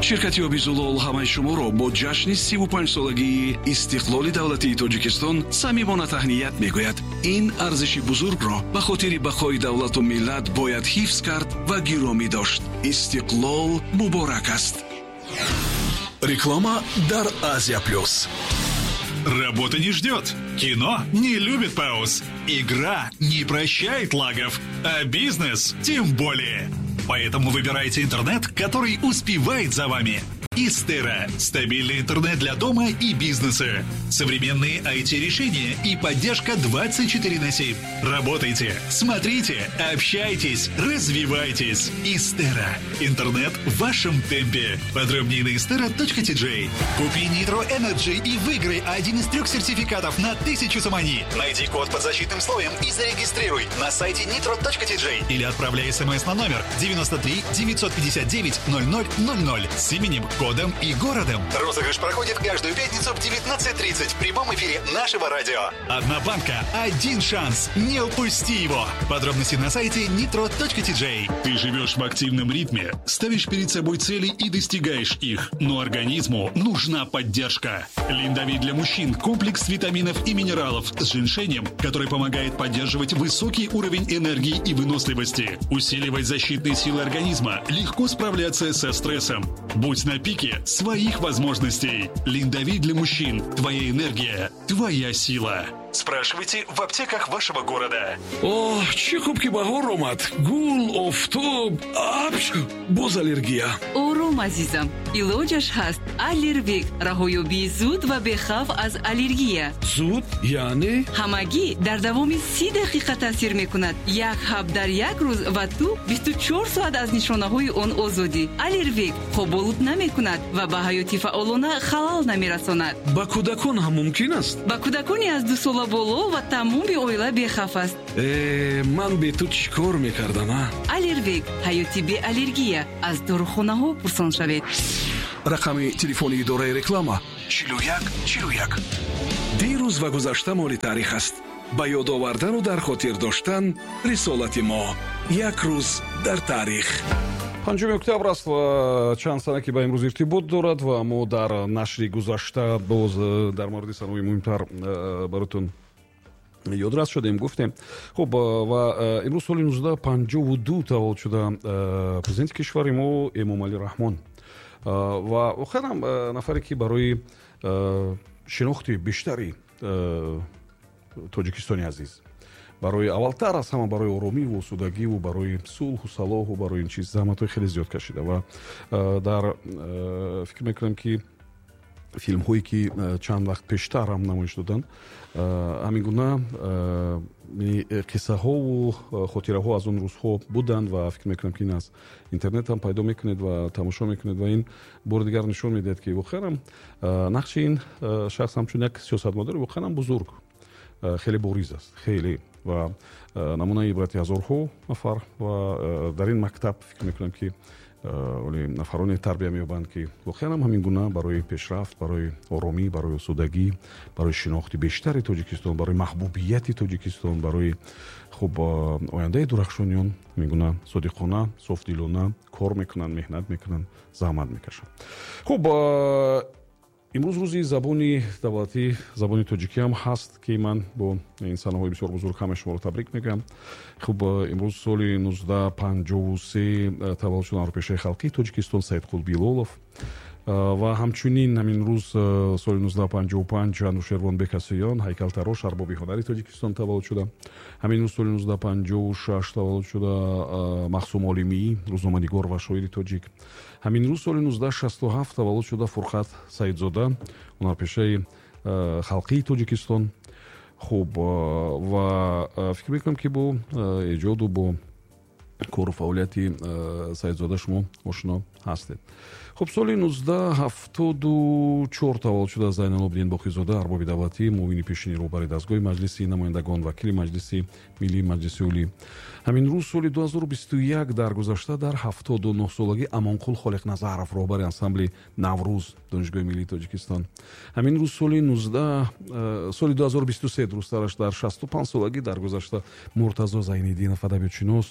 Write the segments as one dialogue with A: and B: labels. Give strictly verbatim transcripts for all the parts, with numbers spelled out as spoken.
A: Ширкати оби Зулол ҳамаи шуморо бо ҷашни сиву панҷсолагии истиқлоли давлатии Тоҷикистон самимона таҳният мегӯяд. Ин арзиши бузургро ба хотири бақои давлату миллат бояд ҳифз кард ва гиромӣ дошт. Истиқлол муборак аст.
B: Реклама дар Азия Плюс.
C: Работа не ждет. Кино не любит пауз. Игра не прощает лагов. А бизнес тем более. Поэтому выбирайте интернет, который успевает за вами. Истера. Стабильный интернет для дома и бизнеса. Современные ай ти-решения и поддержка двадцать четыре на семь. Работайте, смотрите, общайтесь, развивайтесь. Истера. Интернет в вашем темпе. Подробнее на истера точка ти джей. Купи Nitro Energy и выиграй один из трех сертификатов на тысячу сомони. Найди код под защитным слоем и зарегистрируй на сайте nitro точка ти джей или отправляй смс на номер девяносто три девятьсот пятьдесят девять ноль ноль ноль ноль с именем, кодом и городом. Розыгрыш проходит каждую пятницу в девятнадцать тридцать в прямом эфире нашего радио. Одна банка, один шанс. Не упусти его. Подробности на сайте nitro точка ти джей. Ты живешь в активном ритме, ставишь перед собой цели и достигаешь их. Но организму нужна поддержка. Линдовит для мужчин – комплекс витаминов и минералов с женьшенем, который помогает поддерживать высокий уровень энергии и выносливости, усиливать защитные силы организма, легко справляться со стрессом. Будь на пике своих возможностей. Линдовит для мужчин. Твоя энергия, твоя сила. Спрашивайте в аптеках вашего города.
A: О, чӣ хуб ки баҳор омад. Гул, офтоб, апч, боз аллергия.
D: Ором, азизам. Илоҷаш ҳаст. Аллервек. Раҳоёбии зуд ва бехавф аз аллергия.
A: Зуд? Яъне?
D: Ҳамагӣ дар давоми си дақиқа таъсир мекунад. Як ҳаб дар як рӯз ва ту бисту чор соат аз нишонаҳои он озодӣ. Аллервек хоболуд намекунад ва ба ҳаёти фаъолона халал намерасонад.
A: Ба кӯдакон ҳам мумкин аст?
D: Ба кӯдакони аз ду сола боло ва тамоми оила бехавф аст.
A: Э, ман бе ту чӣ кор мекардам, а?
D: Аллервек. Ҳаёти беаллергия. Аз дорухонаҳо пурсон шавед.
A: Рақами телефони идораи реклама чилу як чилу як. Дирӯз ва гузашта моли таърих аст. Ба ёд овардану дар хотир доштан рисолати мо. Як рӯз дар таърих.
E: Панҷуми октябр аст ва чанд сана ки ба имрӯз иртибот дорад ва мо дар нашри гузашта боз дар мавриди санаҳои муҳимтар баротон ёдрас шудем, гуфтем. Хуб, ва имрӯз соли нуздаҳ панҷоҳу ду таваллуд шуда президенти кишвари мо Эмомалӣ Раҳмон. Ва воқеан ҳам нафаре ки барои шинохти бештари Тоҷикистони азиз, барои аввалтар аз ҳама барои оромиву осудагиву барои сулҳу салоҳу барои ин чиз заҳматҳои хеле зиёд кашида ва дар фикр мекунам ки филмҳое ки чанд вақт пештар ҳам намоиш доданд, ҳамин гуна қиссаҳову хотираҳо аз он рӯзҳо буданд ва фикр мекунам ки ин аз интернет ҳам пайдо мекунед ва тамошо мекунед ва ин бори дигар нишон медиҳад ки воқеан ҳам нақши ин шахс ҳамчун як сиёсатмадори воқеан ҳам бузург, хеле бориз аст, хеле ва намунаи ибрати ҳазорҳо нафар ва дар ин мактаб фикр мекунам ки оле нафароне тарбия меёбанд ки воқеан ҳам ҳамин гуна барои пешрафт, барои оромӣ, барои осудагӣ, барои шинохти бештари Тоҷикистон, барои маҳбубияти Тоҷикистон, барои хуб ояндаи дурахшониён ҳамин гуна содиқона, софдилона кор мекунанд, меҳнат мекунанд, заҳмат мекашанд. Хуб, имрӯз рӯзи забони давлатӣ, забони тоҷикӣ ҳам ҳаст ки ман бо ин санаҳои бисёр бузург ҳамаи шуморо табрик мегӯям. Хуб, имрӯз соли нуздаҳ панҷоҳу се таваллуд шуда ҳунарпешаи халқии Тоҷикистон Саидқул Билолов ва ҳамчунин ҳамин рӯз соли нуздаҳ панҷоҳу панҷ Анушервон Бекасиён, ҳайкалтарош, арбоби ҳунари Тоҷикистон таваллуд шуда. Ҳамин рӯз соли нуздаҳ панҷоҳу шаш таваллуд шуда Махсум Олимӣ, рӯзноманигор ва шоири тоҷик. Ҳамин рӯз соли нуздаҳ шасту ҳафт таваллуд шуда Фурқат Саидзода, ҳунарпешаи халқии Тоҷикистон. Хуб, ва фикр мекунам ки бо эҷоду бо кору фаъолияти Саидзода шумо ошно ҳастед. Хуб, соли нуздаҳ ҳафтоду чор таваллуд шуда Зайналобиддин Боқизода, арбоби давлатӣ, муовини пешини роҳбари дастгоҳи Маҷлиси намояндагон, вакили Маҷлиси миллии Маҷлиси Олӣ. Ҳамин рӯз соли ду ҳазору бисту як даргузашта дар ҳафтоду нӯҳ солагӣ Амонқул Холиқназаров, роҳбари ансамбли Наврӯз Донишгоҳи миллии Тоҷикистон. Ҳамин рӯз соли нуздаҳ соли ду ҳазору бисту се дурусттараш дар шасту панҷ солагӣ даргузашта Муртазо Зайниддинов, адабиётшинос,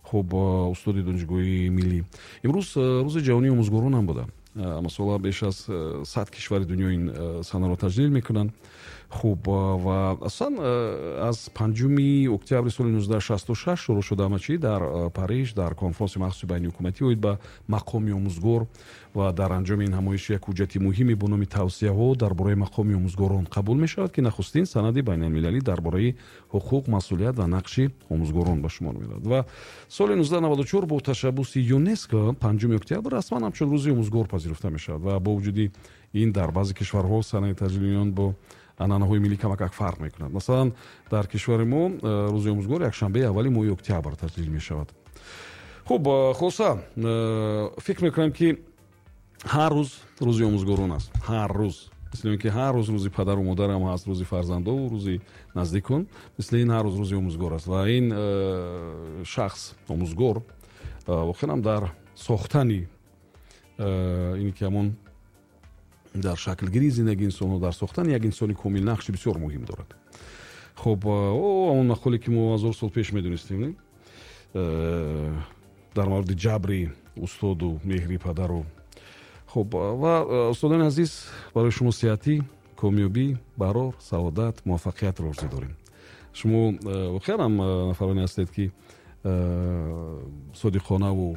E: хуб, устоди Донишгоҳи миллӣ. Имрӯз рӯзи ҷаҳонии омӯзгорон ҳам буда. Масалан, беш аз сад кишвари дунё ин санаро таҷлил мекунанд. Хуб, ва асосан аз панҷуми октябри соли нуздаҳ шасту шаш шурӯъ шуда ҳама чӣ дар Париж, дар конфронси махсуси байниҳукуматӣ оид ба мақоми омӯзгор, ва дар анҷоми ин ҳамоиш як ҳуҷҷати муҳиме бо номи тавсияҳо дар бораи мақоми омӯзгорон қабул мешавад, ки нахустин санади байналмилалӣ дар бораи ҳуқуқ, масъулият ва нақши омӯзгорон ба шумор меравад. Ва соли нуздаҳ наваду чор бо ташаббуси ЮНЕСКО панҷуми октябр расман ҳамчун рӯзи омӯзгор пазируфта мешавад ва бо вуҷуди ин дар баъзе кишварҳо санаи таҷлили он бо анъанаҳои миллӣ камакак фарқ мекунад. Масалан, дар кишвари мо рӯзи омӯзгор якшанбеи аввали моҳи октябр таҷлил мешавад. Хуб, хулоса, фикр мекунам, ки ҳар рӯз рӯзи омӯзгорон аст. Ҳар рӯз, мисли ин ки ҳар рӯз рӯзи падару модарам ҳаст, рӯзи фарзандову рӯзи наздикон, мисли ин ҳар рӯз рӯзи омӯзгор аст. Ва ин шахс омӯзгор воқеан ҳам дар сохтани ин ки ҳамон дар шаклгирии зиндагии инсонҳо, дар сохтани як инсони комил нақши бисёр муҳим дорад. Хуб, он мақоле ки мо ҳазор сол пеш медонистем, дар мавриди ҷабри устоду меҳри падару. Хуб, ва устодони азиз, барои шумо сиҳатӣ, комёбӣ, барор, саодат, муваффақиятро орзу дорем. Шумо воқеан ҳам нафароне ҳастед, ки содиқонаву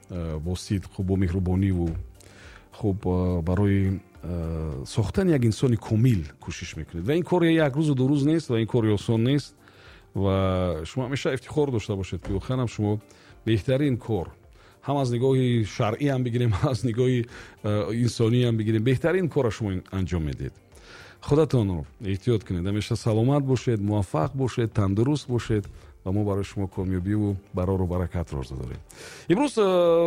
E: бо сидқу бо меҳрубониву хуб барои сохтани як инсони комил кӯшиш мекунед. Ва ин кор як рӯзу ду рӯз нест ва ин кори осон нест ва шумо ҳамеша ифтихор дошта бошед, ки воқеан ҳам шумо беҳтарин кор, ҳам аз нигоҳи шаръӣ ҳам бигирем, ҳам аз нигоҳи инсонӣ ҳам бигирем, беҳтарин корро шумо анҷом медиҳед. Худатонро эҳтиёт кунед, ҳамеша саломат бошед, муваффақ бошед, тандуруст бошед ва мо барои шумо комёбиву барору баракатро орзу дорем. Имрӯз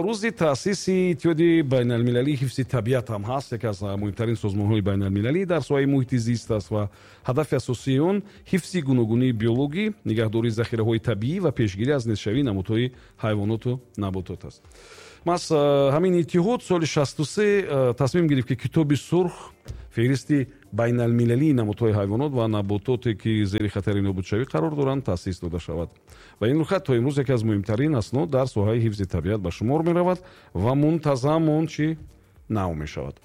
E: рӯзи таъсиси Иттиҳоди байналмилалии ҳифзи табиат ҳам ҳаст, яке аз муҳимтарин созмонҳои байналмилалӣ дар соҳаи муҳити зист аст ва ҳадафи асосии он ҳифзи гуногунии биологӣ, нигаҳдории захираҳои табиӣ ва пешгирӣ аз нестшавии намудҳои ҳайвоноту наботот аст. Маҳз ҳамин иттиҳод соли шасту се тасмим гирифт, ки Китоби сурх, феҳристи байналмилалии намудҳои ҳайвонот ва набототе, ки зери хатари нобудшавӣ қарор доранд, таъсис дода шавад. Ва ин рӯйхат то имрӯз яке аз муҳимтарин аснод дар соҳаи ҳифзи табиат ба шумор меравад ва мунтазам он чӣ нав мешавад.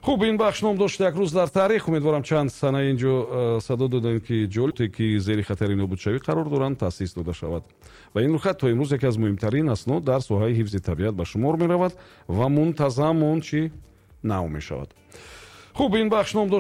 E: Хуб, ин бахш ном дошт як рӯз дар таърих. Умедворам чанд сана инҷо садо додем, ки ҷолиб, ки зери хатари нобудшавӣ қарор доранд, таъсис дода шавад. Ва ин рӯйхат то имрӯз яке аз муҳимтарин аснод дар соҳаи ҳифзи табиат ба шумор меравад ва мунтазам он чӣ нав мешавад. Хуб, ин бахш ном дошт